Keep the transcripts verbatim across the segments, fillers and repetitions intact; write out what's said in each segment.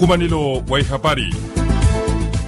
Umanilo wa ihapari.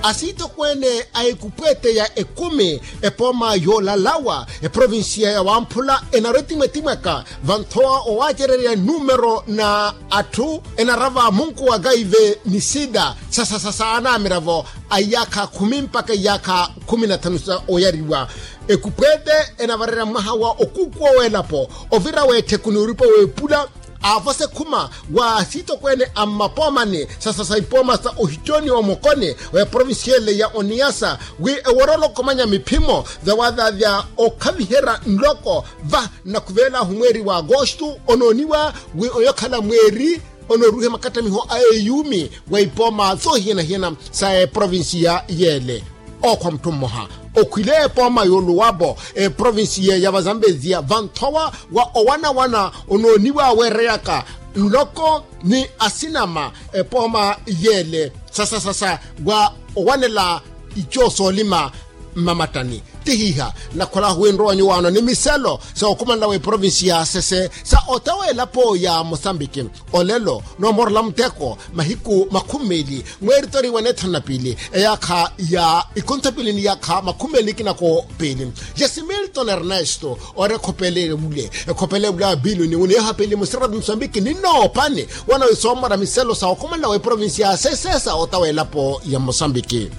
Asiitokweene a ekupweete ya ekumi epooma yoolalawa eprovinsiya ya wamphula enarotimwetimwaka vanthowa owaacererya numero na atthu enarava munku wa kaive ni sida sasa sasa anamiravo a iyaakha khumi mpakha iyaakha khumi na thanu sa oyariwa. Ekupweete enavarerya mwaha wa okukuwa w'elapo ovira w'ettheku n'uripo w'epula aavosa ekhuma wa asiitokweene a mmapoomani sasa sa ipooma sa ohittioni omokoni wa eprovinsi yeele ya oniyasa wi eworolokomanya miphimo vyawaavyaavya okhaviherya nloko va nnakhuveel'ahu mweeri wa agosto onooniwa wi oyokhala mweeri onooruhe makattamiho a eyuumi wa ipooma soohiyana-hiyana sa eprovinsiya yeele. Ookhwa mutthu mmoha okhwile epooma yooluwapo eprovinsiya ya vazambezia vanthowa wa owana-wana onooniwa weereyaka nloko ni asinama epooma yeele sasa sasa wa owanela ico soolima mmamattani. Tihiha nnakholahu wi nrowanyu waano ni miselo sa okhumanela wa eprovinsi ya sese sa ota w'elapo ya mosambiki. Olelo noomorela muteko mahiku makhumi meeli mweeri toriwa neethanu na piili eyaakha ya ikonthapili ni yaakha makhumi meeli ni kinako piili. Jasimilton ernesto ori ekhopele evule ekhopele evule a bilu ni wuni ehapeeli musirati musambiki ni noopani wana wisoomora miselo sa okhumanela wa eprovinsi ya sese sa ota w'elapo ya mosambiki.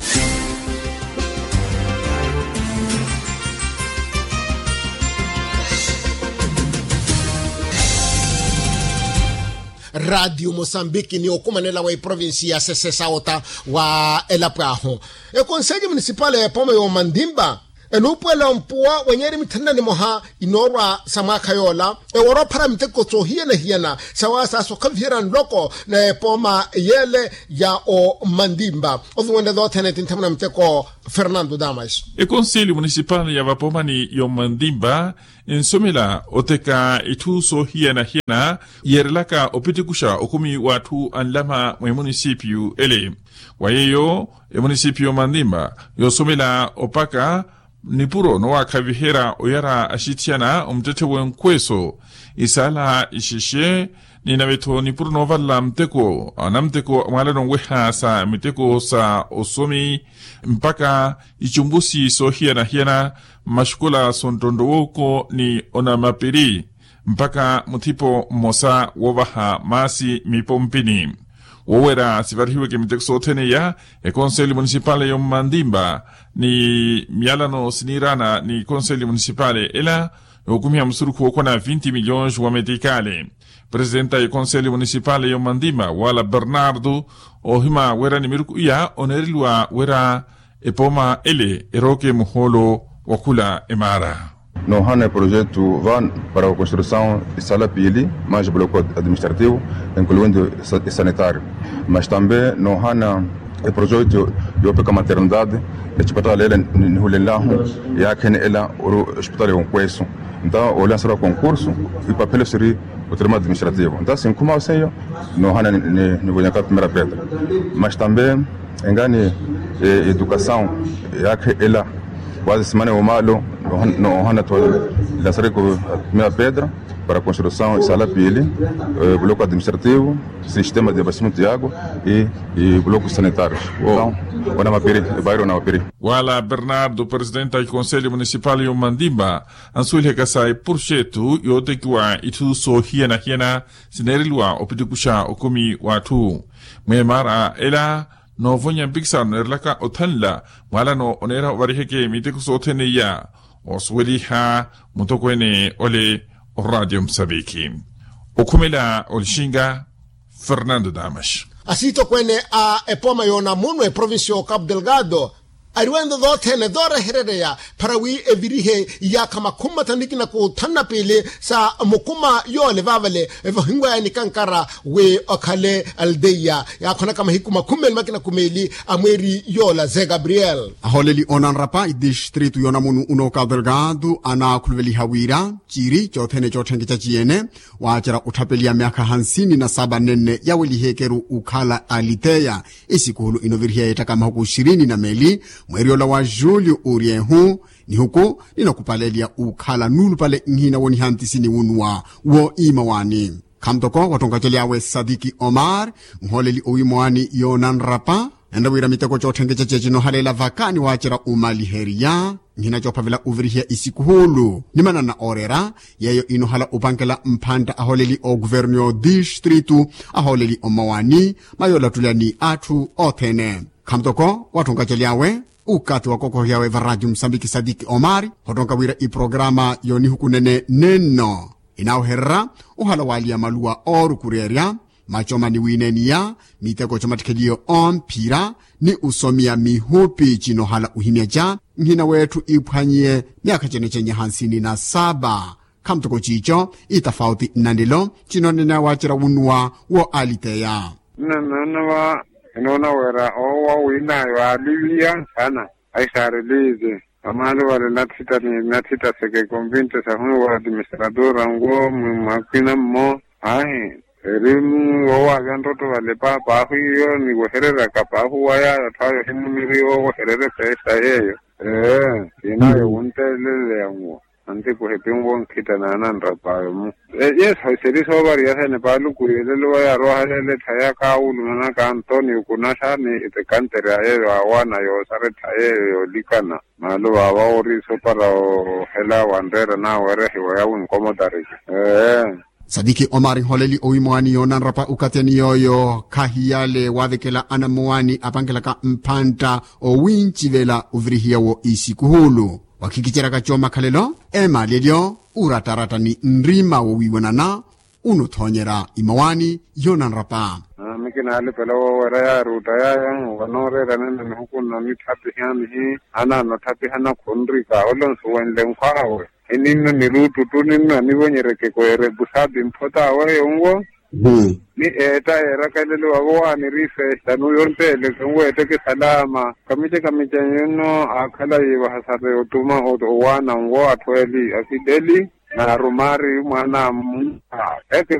Ratiyo mosambiki ni okumanela wa eprovinsi ya sese sa ota wa elapo ahu ekonselyo munisipali ya epooma y'omandimba enuupuwela ompuwa wa nyeeri mithanu na nimoha inoorwa sa mwaakha yoola ewora ophara miteko soohiyana-hiyana sawasaasa okhaviherya nloko na epooma yeele ya omandimba oviwene toothene tinthamuna miteko. Fernando damas. Ekonseli munisipali ya vapoomani y'omandimba ensomela oteka itthu soohiyana-hiyana yeerelaka opitikuxa okumi w'atthu anlama mwemunisipiyu ele. Wa yeeyo emunisipiyu y'omandimba yoosomela opaka nipuro nowaakhaviherya oyara axitthiyana omuttetthe w'enkweso isaala ixexe ni nave-tho nipuro noovalala muteko anamuteko mwaalano nweha sa miteko sa osomi mpaka icumbusi soohiyana-hiyana mmaxukola sonttontto wooko ni onamapiri mpaka muthipo mmosa woovaha maasi mipompini. Woowera sivarihiweke miteko sothene iya ekonseli munisipale y'ommandimba ni miyalano siniiraana ni ekonseli munisipale ela yookumiha musurukhu wookhwana vinti milhões wa metikali. Presidenta y'ekonseli munisipale y'ommandimba wala bernardo oohima wira ni miruku iya oneereliwa wira epooma ele erooke muhoolo wa khula emaara. Noohana eprojetu va para construção esala piili mais bloco administrativo incluindo esanitário mas também noohana eprojetu yoopeka maternidade ecipatala ela nihulenlahu yaakhene ela oru esipitala yonkwesu nta olanserwa concurso ipapelo siri o termo administrativo nta sinkhuma oseyo noohana nivonya ka primeira pedra mas também engani educação yaakhe ela waze simana yomaalo noohana twalasareko a primeira pedra para construção esala piili bloco administrativo sistema de abastecimento de água e bloco sanitário. Wana mapiri ebairo wana mapiri. Wala bernardo presidente a econselho municipal y'omandimba ansuwelihaka sa eprojetu yootekiwa itthu soohiyana-hiyana sineereliwa opitikuxa okumi w'atthu mweemara ela noovonya mpikisano neerelaka othanla mwaalano oneera ovariheke miteko sothene iya. Osuweliha mutokweene ole oradio musaviki okhumela olixinga fernando damas. Asitokweene a epooma y'onamunu eprovinsi y'ocapo delgado ariwento toothene tooreherereya para wi evirihe iyaakha makhumi mathanu ni kinaku thanu na piili sa mukuma yoole vaavale evahinwaya nikankara wi okhale aldeia yaakhonaka mahiku makhumi meeli makinaku meeli a mweeri yoola ze gabriel. Ahooleli oonanrapa itistritu y'onamunu uno cabo delgado anaakhuluveliha wira ciiri coothene cootthenke caciyene waacerya otthapeliya myaakha hansini na saba nenne yawelihekeru okhala aliteya. Esikuhulu inovirihiya yeettaka mahuku xirini na meeli mweeri ola wa julio oryehu nihuku ninakupaleliya okhala nuulupale nhina woniha ntisini wunuwa wooimawaani. Khamutoko wattonkacery'awe sadiki omar, nhooleli owiimwaani yoonanrapa, enre wira miteko cootthenkececa cinoohaleela vaka niwaacerya omaliheriya, nhina coophavela ovirihiya isikuhulu ni manana ooreera, yeeyo inoohala opankela mphantta ahooleli ookuvernu y'odistritu, ahooleli ommawani, mayoolattulya ni atthu othene. Khamutoko wattonkacery'awe, ukathi wakokohiyawe varati musambiki sadiki omar, hottonka wira iprokarama yoonihuku nene nenno, inaawehererya ohala waaliya maluwa oorukureerya, macoma ni wiineeniya, miteko comattikheliyo omphira, ni osomiya mihupi cinoohala ohimyaca, nhina w'etthu iphwanyiye myaakha cenecenya hansini na saba. Khamutoko ciico itafauti nnanlelo, cinoonene waacerya wunnuwa wo aliteya. Nnannoona va, inoona wira owo wiinaayo aaliviya sana. Ayi saarelize, vamaalo vale natthita ni natthita seke konvinte sahunuwa administratora nwo mwakwina mmo. Ahi, eri wowaavya ntotto vale paapaahu iyo niwehereryaka paahu waya atthu ayo himuniri owehererye feesta yeeyo. Ee, siinayo wunteeleleya nwo. Anti kuhipinwa onkhita naananrapaayo mu. Yesu seri soovariya sene paaluku yelelo waya aroohaleele ettha ya kaawulumana ka antonio kunaxa ni eti kantere a yeeyo aawaana yoosara ettha yeeyo yoolikana. Maalo vaava wori sopara ohela wanreera naawerehiwa ya winkomotariki. Ee. Sadiki omari nholeli owiimwaani yoonanrapa ukatheni yooyo khahiyale waavekela anammowaani apankelaka mphantta owincivela ovirihiya wo isikuhulu. Wakhikiceryaka coomakhalelo, eemaalelyo, urattaratta ni nrima wowiiwanana, unothoonyerya imowaani yoonanrapa. Ami kinaalipela woowerya yaaruutta yaayo. Wanooreera nene nihuku nno nitthapihani hi anaanotthapiha nakhunrika ole onsuwenle nkhwaawe. Hininno niruuttu ttu ninno anivonyerya ekeko yeerepu saapi mphotaawe yonwo. Ni eetta yeerakelele wavo waaniri feesta nuyo nteeleke nweetteke salaama kamica kamica nyunno aakhala yiivaha sata yottuma owaana nwo atthu eli afideli. Naarumaari mwaana a mmuha eke.